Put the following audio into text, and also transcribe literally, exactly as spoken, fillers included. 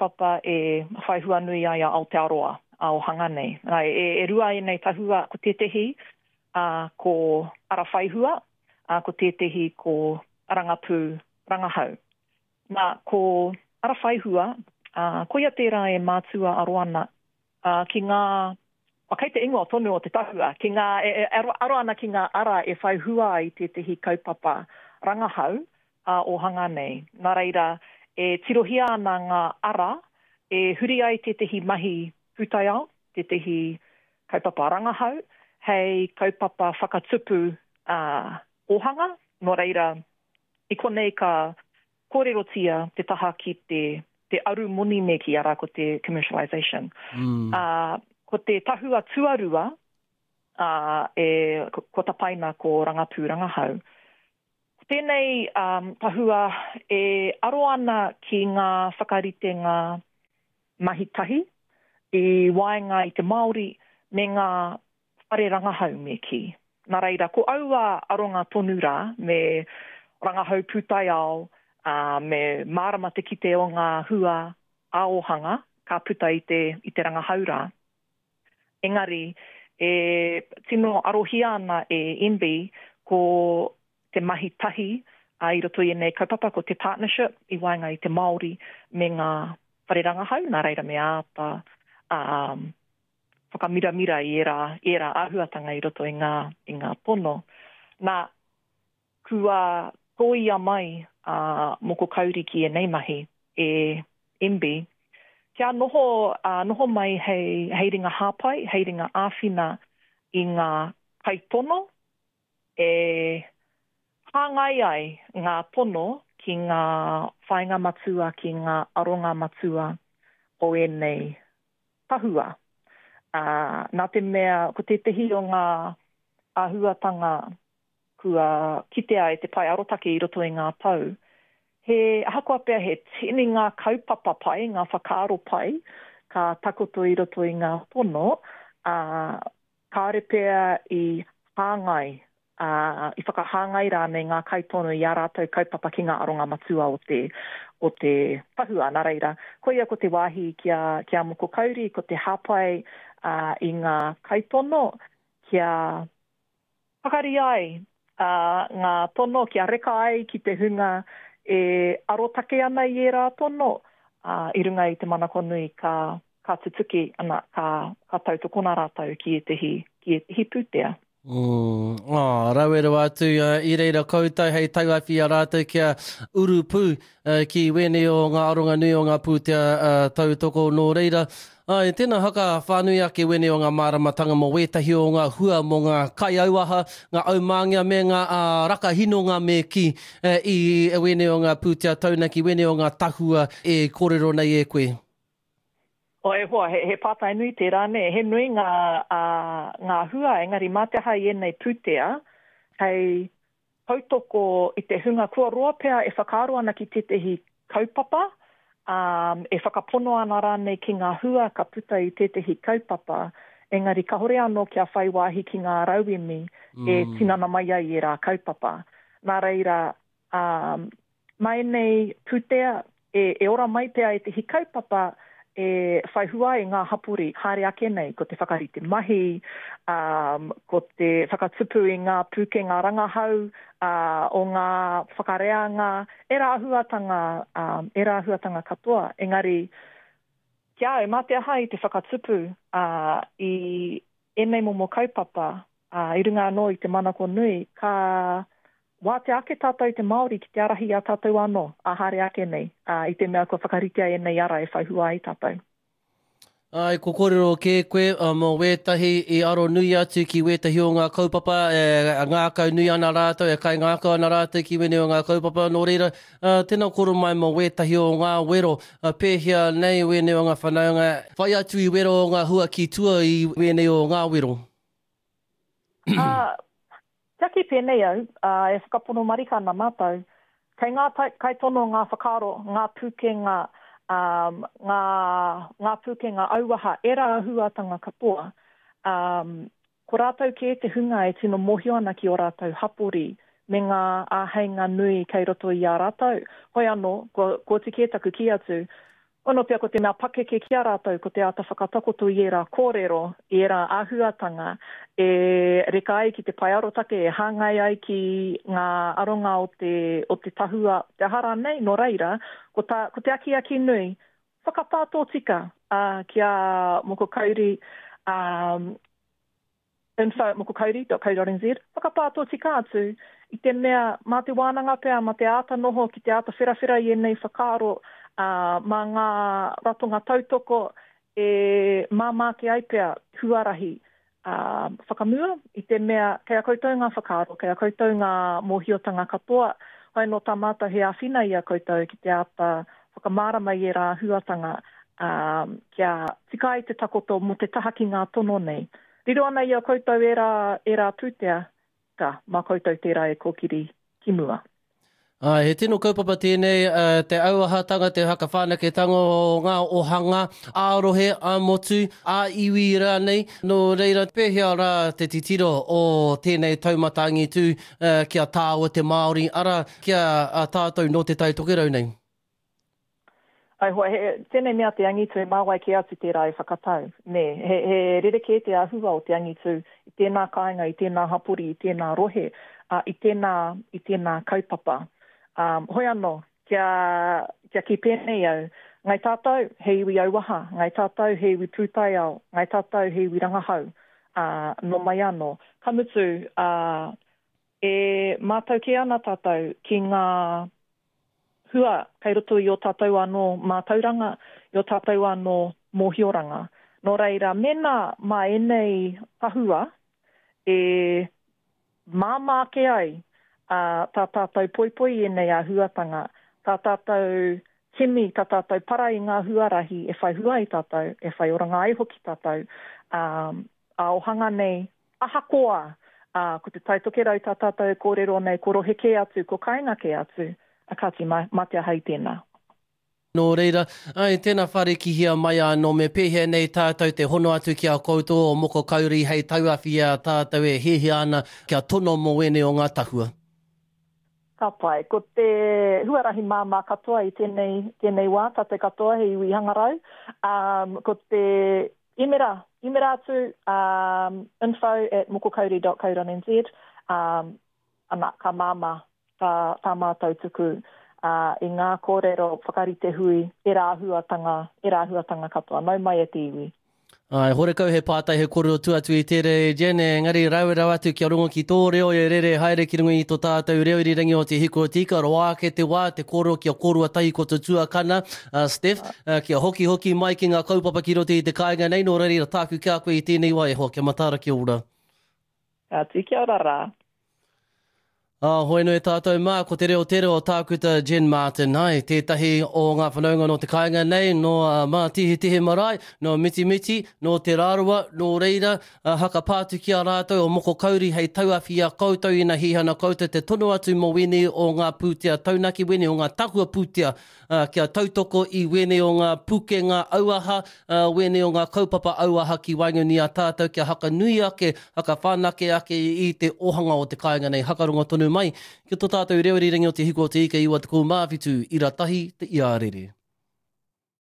kaupapa e whai hua nui ai a Aotearoa ā-ōhanga nei. Nā, e, e rua ēnei tahua, ko tētehi ā, ko Ara Whaihua, ā, ko tētehi ko Rangapū Rangahau. Nā, ko Ara Whaihua, ā, koia tērā e mātua aro ana ā, ki ngā, oh, kei te ingoa tonu o te tahua, ki ngā, e, e aro, aro ana ki ngā ara e whai hua ai tētehi kaupapa rangahau ā-ōhanga nei. Nā reira, e tirohia ana ngā ara e huri ai tētehi mahi pūtaiao, tētehi kaupapa rangahau, hei kaupapa whakatupu ā, ōhanga. Nō reira, i konei ka kōrerotia te taha ki te, te arumoni me kī, arā ko te commercialisation. Mm. Ā, ko te tahua tuarua, ā, e, kua tapaina ko Rangapū Rangahau. Ko tēnei um, tahua e aro ana ki ngā whakaritenga mahi tahi i waenga i te Māori me ngā whare rangahau me kī. Nā reira, ko aua aronga tonu rā me rangahau pūtaiao, ā, me mārama te kite o ngā hua ā-ōhanga ka puta i te, i te rangahau rā. Engari, e tino arohia ana e M B ko te mahi tahi ā, i roto i ēnei kaupapa, ko te partnership i waenga i te Māori me ngā whare rangahau, nā reira me āta um, whakamiramira i ērā, ērā āhuatanga i roto i ngā, i ngā tono. Nā, kua tōia mai a Moko Kauri ki ēnei mahi e M B, kia noho, uh, noho mai hei, hei ringa hāpai, hei ringa āwhina i ngā kaitono e hāngai ai ngā tono ki ngā whāinga matua, ki ngā aronga matua o ēnei tahua. Uh, nā te mea, ko tētehi o ngā āhuatanga kua kitea e te pae arotake i roto i ngā tau, he ahakoa pea he tini ngā kaupapa pai, ngā whakaaro pai, ka takoto i roto i ngā tono, uh, kāore pea i hāngai, uh, i whakahāngai rānei ngā kaitono i ā rātou kaupapa ki ngā aronga matua o te, o te tahua. Nā reira, koia ko te wāhi ki a, ki a Moko Kauri, ko te hāpai uh, i ngā kaitono kia pakari ai uh, ngā tono, kia reka ai ki te hunga e arotake ana i ērā tono, uh, i runga i te manako nui ka, ka tutuki, ana, ka, ka tautokona rātou ki ētehi, ki ētehi pūtea. Mm, oh, rawe rawa atu uh, i reira koutou hei tauawhi a rātou kia urupū uh, ki wēnei o ngā aronga nui o ngā pūtea uh, tautoko. Nō reira. Ai, tēnā haka whānui ake wēnei o ngā māramatanga mō wētahi o ngā hua mō ngā kaiauaha, ngā aumāngia me ngā uh, rakahinonga me ki uh, i wēnei o ngā pūtea taunaki, wēnei o ngā tahua e kōrero nei e koe. O e hoa, he, he pātai nui tērā, nē. He nui ngā, uh, ngā hua, engari mā te aha i ēnei pūtea, hei tautoko i te hunga kua roa pea e whakaaro ana ki tētehi kaupapa, um, e whakapono ana rānei ki ngā hua ka puta i tētehi kaupapa, engari kahore anō kia whai wāhi ki ngā rauemi mm. e tinana mai ai i ērā kaupapa. Nā reira, um, mā ēnei pūtea e, e ora mai pea ētehi kaupapa e whai hua ai ngā hapori haere ake nei, ko te whakarite mahi, um, ko te whakatupu i ngā pūkenga rangahau uh, o ngā whakareanga, ērā āhuatanga, um, ērā āhuatanga katoa. Engari, ki a au, mā te aha i te whakatupu uh, i ēnei momo kaupapa, uh, i runga anō i te manako nui, ka wātea ake tātou te Māori ki te ārahi i a tātou anō, ā haere ake nei, ā, i te mea kua whakaritea ēnei ara e whai hua ai tātou. Ai, ko kōrero kē koe mō wētahi i aro nui atu ki wētahi o ngā kaupapa e ngākau nui ana rātou, e kaingākau ana rātou ki wēnei o ngā kaupapa. Nō reira, tēnā kōrero mai mō wētahi o ngā wero, pēhea nei wēnei o ngā whanaunga, whai atu i wero o ngā hua ki tua i wēnei o ngā wero? Ā, kia kī pēnei au, ā, e whakapono marika ana mātou, kei ngā kaitono ngā whakaaro, ngā pūkenga, ā, ngā, ngā pūkenga auaha, ērā āhuatanga katoa, ā, ko rātou kē te hunga e tino mōhio ana ki ō rātou hapori me ngā āheinga nui kei roto i a rātou. Hoi anō, kua, kua oti kē taku kī atu, Ono pea ko te mea pakeke ki a rātou, ko te āta whakatakoto i ērā kōrero, i ērā āhuatanga, e reka ai ki te pae arotake, e hāngai ai ki ngā aronga o te, o te tahua, te aha rānei, nō reira, ko, tā, ko te akiaki nui, whakapā tōtika uh, ki a Moko Kauri, um, info at mokokauri dot co dot nz, whakapā tōtika atu i te mea mā te wānanga pea, mā te āta noho ki te āta wherawhera i ēnei whakaaro, ā, mā ngā ratonga tautoko e māmā ake ai pea huarahi ā, whakamua i te mea kei a koutou ngā whakaaro, kei a koutou ngā mōhiotanga katoa, hoi nō tā mātou he āwhina i a koutou ki te āta whakamārama i ērā āhuatanga, ā, kia tika ai te takoto mō te taha ki ngā tono nei. Riro ana i a koutou ērā, ērā pūtea, ka, mā koutou tērā e kōkiri ki mua. Āe, he tino kaupapa tēnei, te auahatanga, te whakawhanaketanga o ngā ohanga ā-rohe, ā-motu, ā-iwi rānei. Nō reira, pēhea rā te titiro o tēnei taumata angitū ki a tāua te Māori, arā, ki a tātou nō Te Tai Tokerau nei? Ai hoa, he, tēnei mea te angitu, mā wai kē atu tērā e whakatau, nē. He, he rerekē te āhua o te angitu i tēnā kāinga, i tēnā hapori, i tēnā rohe, ā, i tēnā, i tēnā kaupapa. Um, hoi anō, kia, kia kī pēnei au, ngai tātou he iwi auaha, ngai tātou he iwi pūtaiao, ngai tātou he iwi rangahau, ā, nō mai anō. Ka mutu, ā, e mātau kē ana tātou ki ngā hua kei roto i ō tātou anō mātauranga, i ō tātou anō mōhioranga. Nō reira, mēnā mā ēnei tahua e māmā ake ai tā tātou poipoi i ēnei āhuatanga, tā tātou kimi, tā tātou para i ngā huarahi e whai hua ai tātou, e whai oranga ai hoki tātou, ā-ohanga nei, ahakoa ko Te Tai Tokerau tā tātou e kōrero nei, ko rohe kē atu, ko kāinga kē atu, A kāti, mā, mā te aha i tēnā. Nō reira, āe, tēnā wharekihia mai anō me pēhea nei tātou te hono atu ki a koutou o Moko Kauri hei tauawhi i a tātou e hiahia ana kia tono mō ēnei o ngā tahua. Ka pai. Ko te huarahi māmā katoa i tēnei, tēnei wā, tātou katoa he iwi hangarau. Um, ko te imera, imera atu, um, info at mokokauri dot co dot nz, um, ana, ka māmā tā, tā mātou tuku uh, i ngā kōrero whakarite hui, ērā āhuatanga, ērā āhuatanga katoa. Nau mai e te iwi. Āe, horekau he pātai he kōrero tua atu i tērā e Jen, engari rawe rawa atu kia rongo ki tō reo e rere haere ki runga i tō tātou reo irirangi o Te Hiku o Te Ika, roa ake te wā, te kōrero kia kōrua tahi ko tō tuakana, uh, Steph, uh, kia hoki hoki mai ki ngā kaupapa ki roto i te kāinga nei, nō reira tāku ki a koe i tēnei wā e hoa, kia mataara kia ora. Kāti, kia ora rā. Ā, hoi nui tātou mā, ko te reo tere o Tākuta Jen Martin, hai, tētahi o ngā whanaunga nō te kāinga nei, nō uh, Mātihetihe Marae, nō Mitimiti, nō Te Rarawa, nō reira, uh, haka pātu ki a rātou o Moko Kauri hei tauawhi i a koutou ina hihana koutou te tono atu mō wēnei o ngā pūtea taunaki, wēnei o ngā tahua pūtea, uh, kia tautoko i wēnei o ngā pukenga auaha, uh, wēnei o ngā kaupapa auaha ki waenganui a tātou kia hakanui ake, hakawhanake ake i te ohanga o te kāinga nei, hakarongo tonu mai ki tō tātou reo irirangi o Te Hiku o Te Ika iwa tekau mā whitu, ira tahi te iarere.